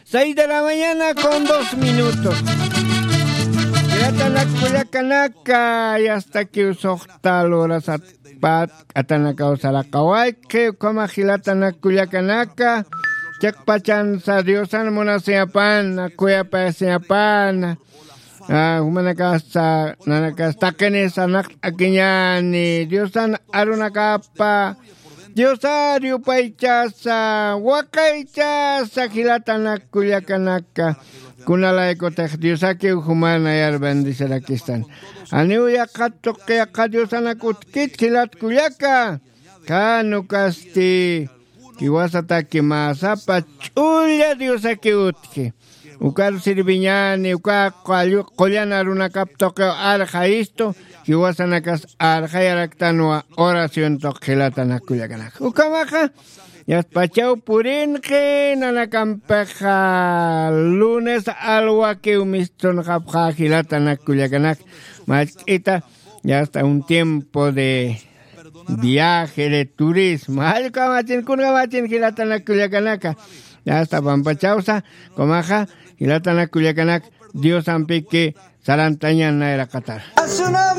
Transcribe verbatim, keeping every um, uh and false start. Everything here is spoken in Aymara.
Seis de la mañana con dos minutos. Yatanak kullakanaka, yastakiw suxta lurasat pat k'atanakaw saraqawayki, ukhama jilatanak kullakanaka, chiqpachansa Diosan munasiyapana, kuyapayasiyapana. Ah, jumanakasa, nanakasa taqinisa naqt'akiñani, Diosan arunakapa, Diosar yupaychasa, waqaychasa, jilatanak kullakanaka. Kunalaykutix Diosakiw jumanayar bendecirakistan. Janiw yaqha tuqi yaqha Diosanak utjkit jilat kullaka. Jan ukasti jiwasataki mä sapa ch'ulla Diosakiw utji. Ukar sirviñani, uka qullan arunakap tuqiw arxayistu, jiwasanakas arxayaraktanwa oración tuq jilatanak kullakanaka. Ukhamaxa, yatpachaw purinqi, nanakampixa lunes alwakiw mistunxapxa jilatanak kullakanaka. Machk'ita, ya está un tiempo de viaje, de turismo. Jallkamachin, kunkamachin jilatanak kullakanaka. Ya está pampachawsa, ukhamaxa, jilatanak kullakanaka, Diosampiki sarantañan nayraqatar.